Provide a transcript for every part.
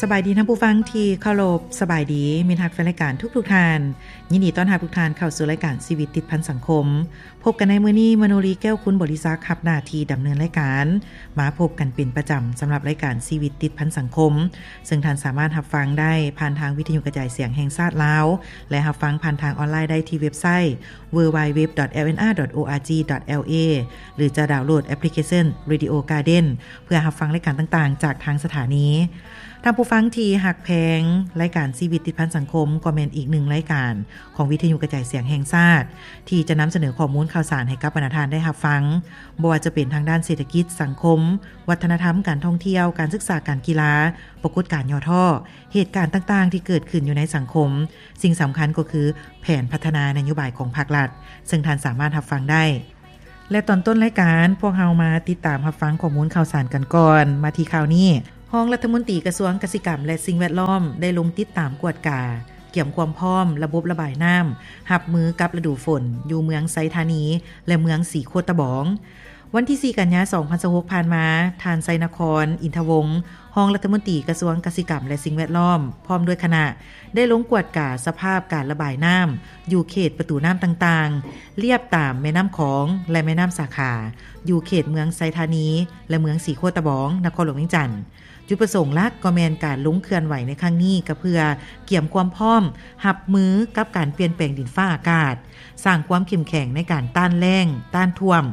ສະບາຍດີທ່ານຜູ້ຟັງທີ່ເຄົາລົບ, ສະບາຍດີມິດຮັກແຟນລາຍການທຸກໆທ່ານ. ຍິນດີຕ້ອນຮັບທຸກທ່ານເຂົ້າສູ່ລາຍການຊີວິດຕິດພັນສັງຄົມ. ພົບກັນໃນມື້ນີ້, ມະໂນລີ ແກ້ວຄຸນບໍລິສັກ ຮັບໜ້າທີ່ດຳເນີນລາຍການ. ມາພົບກັນເປັນປະຈຳສຳລັບລາຍການຊີວິດຕິດພັນສັງຄົມ, ເຊິ່ງທ່ານສາມາດຮັບຟັງໄດ້ຜ່ານທາງວິທະຍຸກະຈາຍສຽງແຫ່ງຊາດລາວ ແລະ ຮັບຟັງຜ່ານທາງອອນລາຍໄດ້ທີ່ເວັບໄຊ www.lnr.org.la ຫຼື ຈະດາວໂຫຼດແອັບພລິເຄຊັນ Radio Garden ເພື່ອຮັບຟັງລາຍການຕ່າງໆຈາກທາງສະຖານີ. ທ່ານຜູ້ຟັງທີ່ຮັກແພງ, ລາຍການຊີວິດຕິດພັນສັງຄົມກໍແມ່ນອີກໜຶ່ງລາຍການຂອງວິທະຍຸກະຈາຍສຽງແຫ່ງຊາດ ທີ່ຈະນຳສະເໜີຂໍ້ມູນຂ່າວສານໃຫ້ກັບບັນດາທ່ານໄດ້ຮັບຟັງ, ບໍ່ວ່າຈະເປັນທາງດ້ານເສດຖະກິດ, ສັງຄົມ, ວັດທະນະທຳ, ການທ່ອງທ່ຽວ, ການສຶກສາ, ການກິລາ, ປາກົດການຫຍໍ້ທໍ້, ເຫດການຕ່າງໆທີ່ເກີດຂຶ້ນຢູ່ໃນສັງຄົມ, ສິ່ງສຳຄັນກໍຄືແຜນພັດທະນານະໂຍບາຍຂອງພາກລັດ, ເຊິ່ງທ່ານສາມາດຮັບຟັງໄດ້. ແລະ ຕອນຕົ້ນລາຍການ, ພວກເຮົາມາຕິດຕາມຮັບຟັງຂໍ້ມູນຂ່າວສານກັນກ່ອນ. ມາທີ່ຂ່າວນີ້, ຮອງລັດຖະມົນຕີກະຊວງກະສິກຳ ແລະ ສິ່ງແວດລ້ອມ ໄດ້ລົງຕິດຕາມກວດກາ, ກຽມຄວາມພ້ອມລະບົບລະບາຍນ້ຳ ຮັບມືກັບລະດູຝົນ ຢູ່ເມືອງໄຊທານີ ແລະ ເມືອງສີໂຄດຕະບອງ. ວັນທີສີ່ ກັນຍາ ສອງພັນຊາວຫົກ ຜ່ານມາ, ທ່ານ ໄຊນະຄອນ ອິນທະວົງ, ຮອງລັດຖະມົນຕີກະຊວງກະສິກຳ ແລະ ສິ່ງແວດລ້ອມ ພ້ອມດ້ວຍຄະນະ ໄດ້ລົງກວດກາສະພາບການລະບາຍນ້ຳຢູ່ເຂດປະຕູນ້ຳຕ່າງໆ ລຽບຕາມແມ່ນ້ຳຂອງ ແລະ ແມ່ນ້ຳສາຂາ ຢູ່ເຂດເມືອງໄຊທານີ ແລະ ເມືອງສີໂຄດຕະບອງ, ນະຄອນຫຼວງວຽງຈັນ. ຈຸດປະສົງຫຼັກກໍແມ່ນການລົງເຄື່ອນໄຫວໃນຄັ້ງນີ້ ກໍເພື່ອກຽມຄວາມພ້ອມຮັບມືກັບການປ່ຽນແປງດິນຟ້າອາກາດ, ສ້າງຄວາມເຂັ້ມແຂງໃນການຕ້ານແລ້ງ, ຕ້ານຖ້ວມ,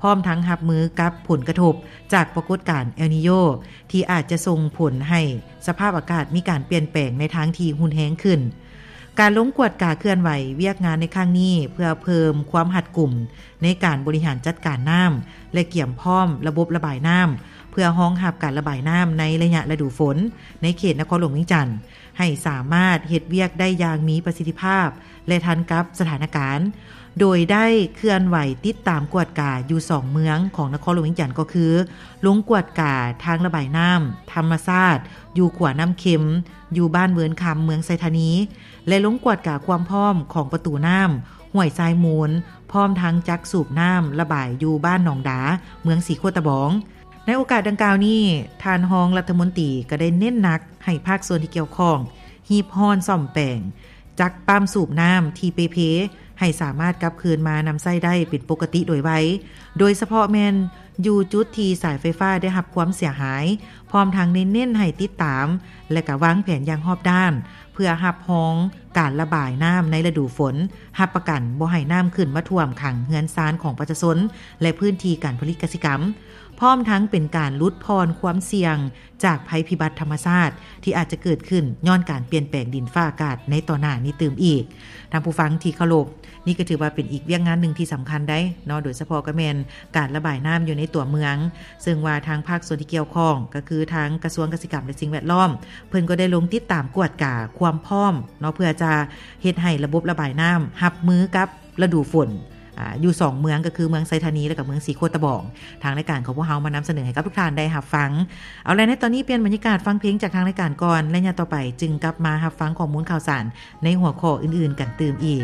ພ້ອມທັງຮັບມືກັບຜົນກະທົບຈາກປາກົດການເອລນີໂຍ ທີ່ອາດຈະສົ່ງຜົນໃຫ້ສະພາບອາກາດມີການປ່ຽນແປງໃນທາງທີ່ຮຸນແຮງຂຶ້ນ. ການລົງກວດກາເຄື່ອນໄຫວວຽກງານໃນຄັ້ງນີ້ ເພື່ອເພີ່ມຄວາມຮັດກຸມໃນການບໍລິຫານຈັດການນ້ຳ ແລະ ກຽມພ້ອມລະບົບລະບາຍນ້ຳ ເພື່ອຮອງຮັບການລະບາຍນ້ຳໃນໄລຍະລະດູຝົນ ໃນເຂດນະຄອນຫຼວງວຽງຈັນ ໃຫ້ສາມາດເຮັດວຽກໄດ້ຢ່າງມີປະສິດທິພາບ ແລະ ທັນກັບສະຖານະການ, ໂດຍໄດ້ເຄື່ອນໄຫວຕິດຕາມກວດກາຢູ່ສອງເມືອງຂອງນະຄອນຫຼວງວຽງຈັນ ກໍຄື ລົງກວດກາທາງລະບາຍນ້ຳທຳມະຊາດຢູ່ຂົວນ້ຳເຄັມ ຢູ່ບ້ານເວີນຄຳ ເມືອງໄຊທານີ ແລະ ລົງກວດກາຄວາມພ້ອມຂອງປະຕູນ້ຳຫ້ວຍຊາຍມູນ ພ້ອມທັງຈັກສູບນ້ຳລະບາຍຢູ່ບ້ານໜອງດາ ເມືອງສີໂຄດຕະບອງ. ໃນໂອກາດດັ່ງກ່າວນີ້, ທ່ານຮອງລັດຖະມົນຕີກໍໄດ້ເນັ້ນໜັກໃຫ້ພາກສ່ວນທີ່ກ່ຽວຂ້ອງ ຮີບຮ້ອນສ້ອມແປງຈັກປ້ຳສູບນ້ຳທີ່ເປ່ເພ ໃຫ້ສາມາດກັບຄືນມານຳໃຊ້ໄດ້ເປັນປົກກະຕິໂດຍໄວ, ໂດຍສະເພາະແມ່ນຢູ່ຈຸດທີ່ສາຍໄຟຟ້າໄດ້ຮັບຄວາມເສຍຫາຍ, ພ້ອມທັງໄດ້ເນັ້ນໃຫ້ຕິດຕາມ ແລະ ກະວາງແຜນຢ່າງຮອບດ້ານ ເພື່ອຮັບຮອງການລະບາຍນ້ຳໃນລະດູຝົນ, ຮັບປະກັນບໍ່ໃຫ້ນ້ຳຂຶ້ນມາຖ້ວມຂັງເຮືອນຊານຂອງປະຊາຊົນ ແລະ ພື້ນທີ່ການຜະລິດກະສິກຳ, ພ້ອມທັງເປັນການຫຼຸດຜ່ອນຄວາມສ່ຽງຈາກໄພພິບັດທຳມະຊາດທີ່ອາດຈະເກີດຂຶ້ນຍ້ອນການປ່ຽນແປງດິນຟ້າອາກາດໃນຕໍ່ໜ້ານີ້ຕື່ມອີກ. ທ່ານຜູ້ຟັງທີ່ເຄົາລົບ, ນີ້ກໍຖືວ່າເປັນອີກວຽກງານໜຶ່ງທີ່ສຳຄັນໄດ໋ເນາະ, ໂດຍສະເພາະກໍແມ່ນການລະບາຍນ້ຳຢູ່ໃນຕົວເມືອງ, ເຊິ່ງວ່າທາງພາກສ່ວນທີ່ກ່ຽວຂ້ອງ ກໍຄືທາງກະຊວງກະສິກຳ ແລະ ສິ່ງແວດລ້ອມ ເພິ່ນກໍໄດ້ລົງຕິດຕາມກວດກາຄວາມພ້ອມເນາະ, ເພື່ອຈະເຮັດໃຫ້ລະບົບລະບາຍນ້ຳຮັບມືກັບລະດູຝົນ ອາ ຢູ່ສອງເມືອງ ກໍຄືເມືອງໄຊທານີ ແລະ ກໍເມືອງສີໂຄດຕະບອງ. ທາງລາຍການຂອງພວກເຮົາມານຳສະເໜີໃຫ້ກັບທຸກທ່ານໄດ້ຮັບຟັງ. ເອົາລະ ໃນຕອນນີ້ປ່ຽນບັນຍາກາດຟັງເພງຈາກທາງລາຍການກ່ອນ ແລະ ຍາມຕໍ່ໄປຈຶ່ງກັບມາຮັບຟັງຂໍ້ມູນຂ່າວສານໃນຫົວຂໍ້ອື່ນໆກັນຕື່ມອີກ.